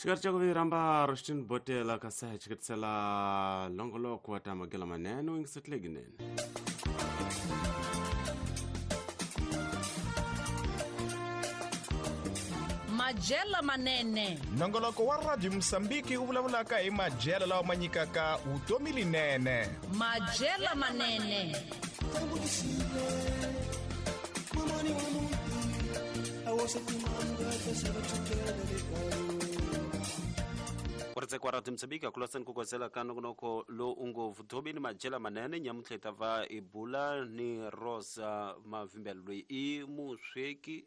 Xikati xa ku viramba Rushtin Botela ka se xikatisela longoloko wa ta magela manene u yingisetlile Majela manene. Nongoloko wa Radio Mosambiki wu vulavulaka hi madyelo lawa ma nyikaka vutomi linene. Majela manene. Ku radio Mozambique kulosani ku kosela ka nongonoko lowu u ngo vutomi ni madyela manene. Nyamuntlha hi ta va hi bula ni Rosa Mavimbela, loyi i musweki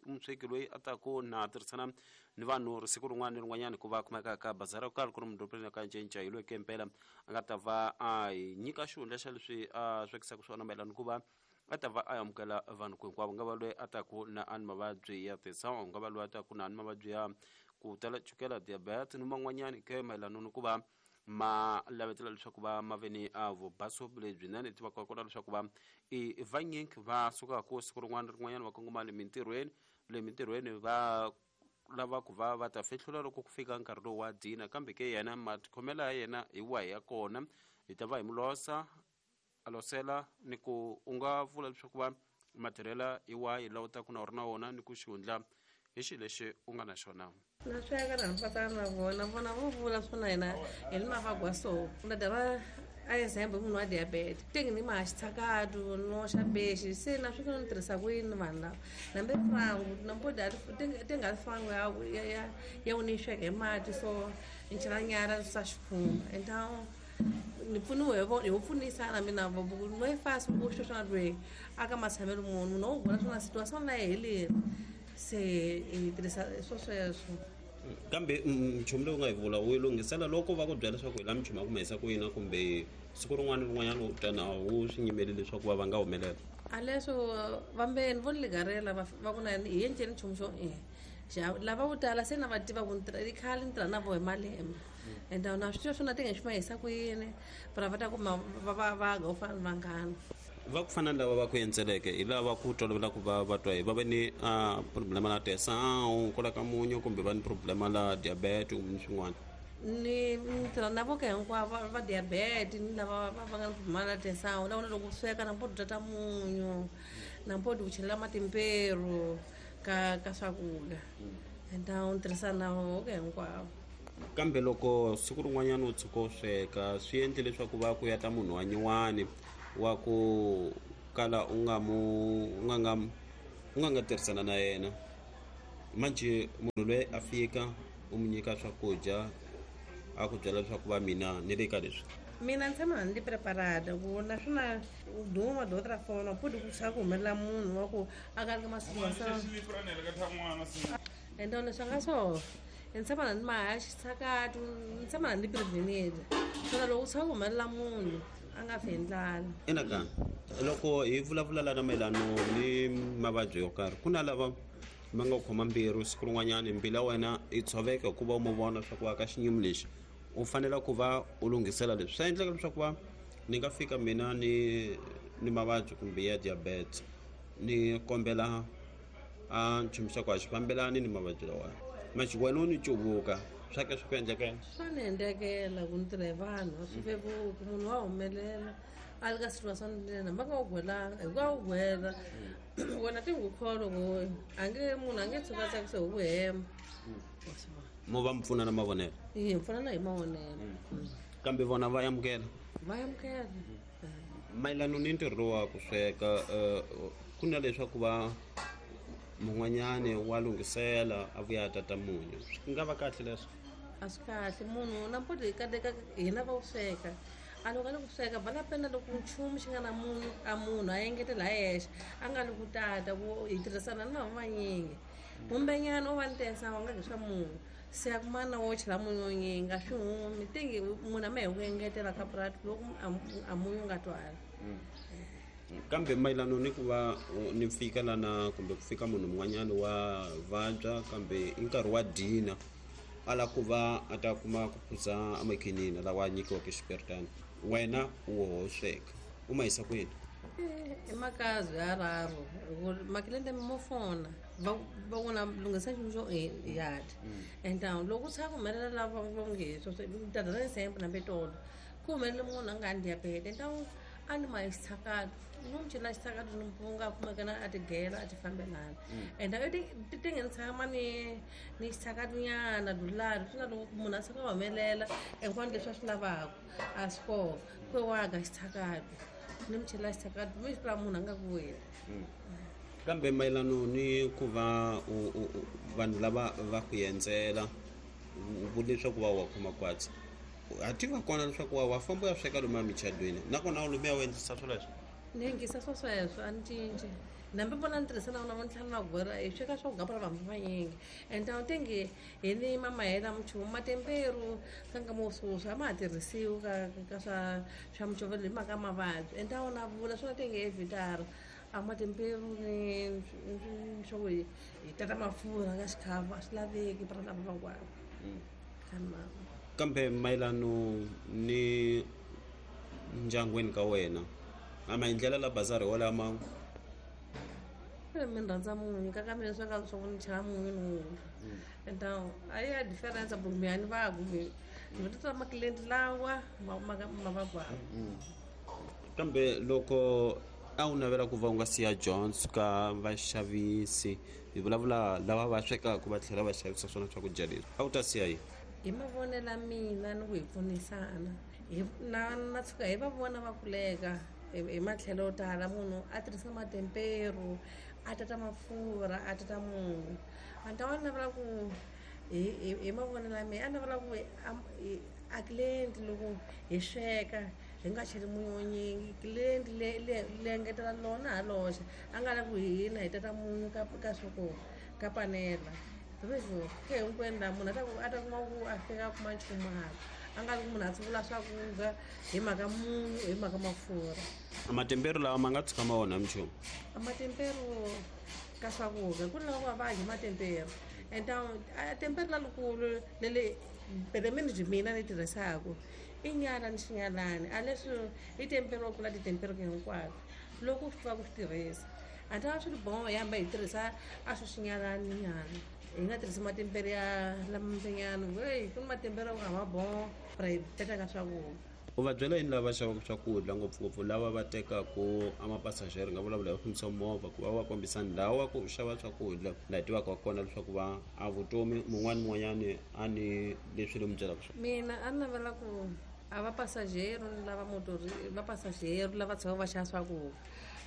loyi a taku na tirhisana ni vanhu siku rin'wana ni rin'wanyana ku va kumeka ka bazara ku karhi ku ri mudorobeni ka Ncinca. Hi loyi ke mpela a nga ta va a hi nyika xihundla xa leswi a swekisaka swona mayelana ku va a ta va a amukela vanhu ku hinkwavo, nga va loyi a taku na a ni mavabyi ya tensão, nga va loyi a taku na a ni mavabyi ya ku tala chukela, diabetes ni man'wanyani ke mayelana ni ku va ma lavetela leswaku va ma ve ni a vubaso lebyinene. Tivaka kona leswaku va i vanyingi va sukaka siku rin'wana rin'wanyana va kongoma le mintirhweni, le mintirhweni va lava ku va va ta fihlula loko ku fika nkarhi lowu wa dina, kambe ke yena matikhomelo ya yena hi wahi ya kona hi ta va hi mu losa a losela ni ku u nga vula leswaku va matirhela hi wahi lawa u taku na u ri na wona ni ku xihundla hi xilo lexi u nga na xona. Na sweka na mpatana na vona vona vo vula swona hina hi ni mavagwa so na dava a example munhu wa diabetes tingi ni maxitsakatu no xa bexi se na swi ni tirhisa ku yini vanhu lava nambe frangu nampo tinga frangu ya ya ya u ni sweka hi mati so ni chela nyara swa xikhumba então ni pfuniwe hi vo pfunisana mina no fasi ku sweswo lweyi aka matshamelo munhu no vona swona situation na yi heleri se hi tirhisa swo sweswo. Kambe nchumu lowu nga hi vula wu lunghisela loko va ku byela leswaku hi la minchumu ya ku ma ku yina kumbe siku rin'wana ni rin'wanyana u tana wu swi nyimeli leswaku va va nga humelela a leswo vambeni vo ligarela va ku na hi endleni nchumu xo lava vo tala se na va tiva ku i khale ni tirha na vo hi malembe and na swi tiva swona ti nga xi ma hisa ku yini va va ta kuma va va va ga u fana ni vanghana va ku fana ni lava va ku endzeleke hi lava ku tolovela ku va va twa hi va ve ni problema la tensão kwala ka munyu kumbe va ni problema la diabetes kumbe ni swin'wana. Ni tirha na vo ka hinkwavo va diabetes ni lava va nga ni problema la tensão na vona loko sweka na mpo dya ta munyu na mpo ku chelela matimperu ka ka swakudya então ni tirhisana na vo ka hinkwavo. Kambe loko siku rin'wanyana u tshuka u sweka swi endle leswaku va ku ya ta munhu wa nyuwani wa ku kala u nga mu u nga nga u nga nga tirhisana na yena, manje munhu loyi a fika u mu nyika swakudya a ku byela leswaku va mina ni le ka leswi. Mina ni tshama ni preparada ku naswona u duma de outra forma pode ku swa ku humelela munhu wa ku a ka ka masiku então leswi nga so ni tshama ni mahaxi xitsakatu ni tshama ni prevened swona loko u tshama ku humelela munhu a nga fi hi ndlala. Ina loko hi vulavula lana mayelano ni mavabyi yo karhi ku na lava ma nga khoma mbilu siku rin'wanyana mbilu ya wena yi tshoveka hikuva u mu vona swa ku va ka xinyimi lexi u fanele ku va u lunghisela leswi swa endleka leswaku va ni nga fika mina ni ni mavabyi kumbe ya diabetes ni kombela a nchumu xa ku a xi fambelani ni mavabyi lawa manje wena u ni cuvuka swa ke swi ku endlekela swa ni endlekela ku ni tirha hi vanhu a swi vevuki munhu wa humelela a li ka situation lena va nga wu gwelanga hi ku a wu gwela wena ti n'wi kholo ku a nge munhu a nge tshuka a tsakisa hi ku hema mo va mi pfuna na mavonelo hi pfunana hi mavonelo kambe vona va amukela va amukela. Mayelana ni ntirho lowu wa ku sweka ku na leswaku va mun'wanyani wa lunghisela a vuya a tata munyu swi nga va kahle leswo a swi kahle munhu na mpoto hi kateka hina va wu sweka a loko a le ku sweka bala pena loko nchumu xi nga na munhu a munhu a engetela hi yexe a nga li ku tata ku hi tirhisana ni vanhu vanyingi kumbenyana u va ni tensa wa nga nge swa munhu se a kuma na wo chela munyu wo nyingi a swi humi tingi munhu a ma hi ku engetela ka purati loko a munyu nga twali. Kambe mayelana ni ku va ni fika lana kumbe ku fika munhu mun'wanyana wa vabya kambe i nkarhi wa dina a lava ku va a ta kuma ku phuza amakhinini lawa a nyikiwaka xiperitani wena u woho sweka u ma yisa kwini? I makazi ya raru makilende mo fona Va vona lunghisa nchumu xo ya dya. And loko ku tshika ku humelela lava va nge ta dya example hambi tolo ku humelele munhu a nga ni diabete, ntawu a ni ma xitshakati, ni n'wi chela xitshakati, ni nga kumeka na a tigela a ti fambelana. And ti ti nge ni tshama ni xitshakati nyana dulari swi na loko munhu a tshuka a humelela hinkwano leswi a swi lavaka a swi kona ku wa ga xitshakati, ni mi chela xitshakati mi swi munhu a nga ku weli. Kambe mayelano ni ku va vanhu lava va ku endzela, u vule leswaku va wa khoma kwatsi, a tiva kona leswaku wa famba u ya sweka lomu emichadweni, nakona u lomu ya u endlisa swoleswo? Ni yingisa swo sweswo, a ni cinci. Nambi vona ni tirhisa na vona vontlhanu va gwera hi sweka swo gapura vanhu vanyingi. And a tingi hi ni mamahela minchumu matemperu ka nkama wo sweswi a ma ha tirhisiwi ka swa mucovelo hi mhaka mavabyi. And a wona vula swona tingi evhitara a matemperu ni swa ku hi tata mafurha ka xikhafu a swi laveki para lava van'wana. Kambe mayelano ni ndyangwini ka wena, a maendlelo la bazari walama? Mi rhandza munyu ka mina swa ka swa ku ni chela munyu ni wula. And a ya difference ku mi a ni va ku mi ni ta makilenti lawa ma va kwa. Kambe loko a wu navela ku va u nga siya Jones ka vaxavisi, hi vulavula lava va swekaka va tlhela va xavisa swona swakudya leswi, a wu ta siya yini? Hi mavonelo ya mina ni ku hi pfunisana na tshuka hi va vona va kuleka hi matlhelo yo tala, munhu a tirhisa matemperu, a tata mafurha, a tata munyu. A ni ta va navela ku hi mavonelo ya mina a navela ku a client loko hi sweka hi nga cheli munyu wo nyingi, client le engetela lona ha loxa, a nga lavi ku hina hi tata munyu ka swa ku ka panela. Ke hinkwenu laha munhu a ta kuma ku a fika a kuma nchumu hala, a nga lavi ku munhu a tsuvula swakudya hi mhaka munyu, hi mhaka mafurha. Matemperu lawa ma nga tshuka ma onha minchumu? Matemperu ka swakudya ku ni lava ku va va dya matemperu. And a temperu lalukulu lele pele byi mina ni tirhisaka i nyala ni xinyalani, a leswi i temperu wa kula titemperu hinkwato loko u swi tiva ku swi tirhisa. A ta swi ri boho hi hamba hi tirhisa a swi xinyalani nyana, hi nga tirhisi matemperu ya lamambenyana. Hey, ku ni matemperu a ma boho ra hi teka ka swakudya. U va byela yini lava xavaka swakudya, ngopfungopfu lava va tekaku a mapasajero, nga vulavula hi fambisa movha, ku va va kombisa ndhawu ya ku xava swakudya laha hi tivaka kona leswaku va a vutomi mun'wani mun'wanyani a ni leswi ni mi byelaka swona? Mina a ni navela ku a va pasajero ni lava motori, va pasajero lava tshama va xava swakudya,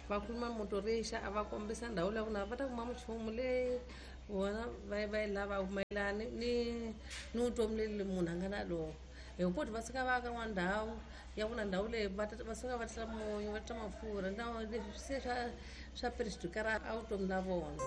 va khuluma motorixa a va kombisa ndhawu leyi na va ta kuma minchumu leyi vona va yi lava mayelana ni vutomi leli munhu a nga na lona. Hi ku va suka va ka n'wana ndhawu ya vona, ndhawu leyi va suka va tisa munyu, va tisa mafurha, ndhawu leswi se swa perixikara a vutomi la vona.